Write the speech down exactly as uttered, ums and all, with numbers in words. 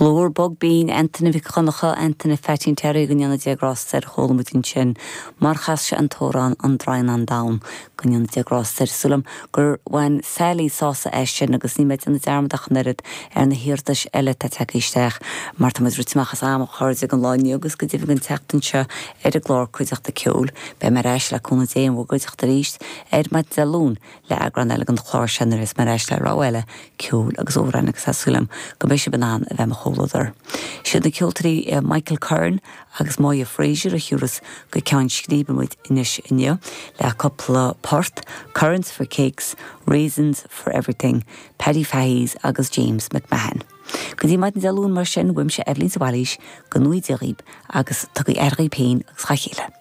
Glór bog binn Antaine Mhic Dhonncha Antaine Pheaitín Terry go ndéana Dia grásta air chuala muid ansin mar chas sé an t-amhrán an Droighneán Donn go ndéana Dia grásta air sílim gur bhain Sally sásamh as sin agus ní mbeidh déanamh dearmad ach an oiread ar na hiarratais eile atá tagtha isteach mar tá rite amach as am a chairde don lá inniu agus go deimhin an tseachtain seo ar an gclár Cuideachta Ceoil beidh mé ar ais le cúnamh Dé in bhur gcuideachta arís ar maidin Dé Luain le eagrán eile den chlár seo nuair is mar ais le rogha eile ceoil agus amhrán agus tá súil agam go mbeidh sibh in ann a bheith i mo chomhluadar. Siad na ceoltóirí Michael Curran agus Moya Fraser a thiúrfas go ceann scríbe muid anois inniu le cúpla port, Currants for Cakes, Raisins for Everything, Paddy Fahy's agus James McMahon. Go dtí maidin Dé Luain mar sin uaimse Eibhlín de Bhailís go ngnóthaí Dia dhaoibh agus tugaigí aire daoibh féin agus dá chéile.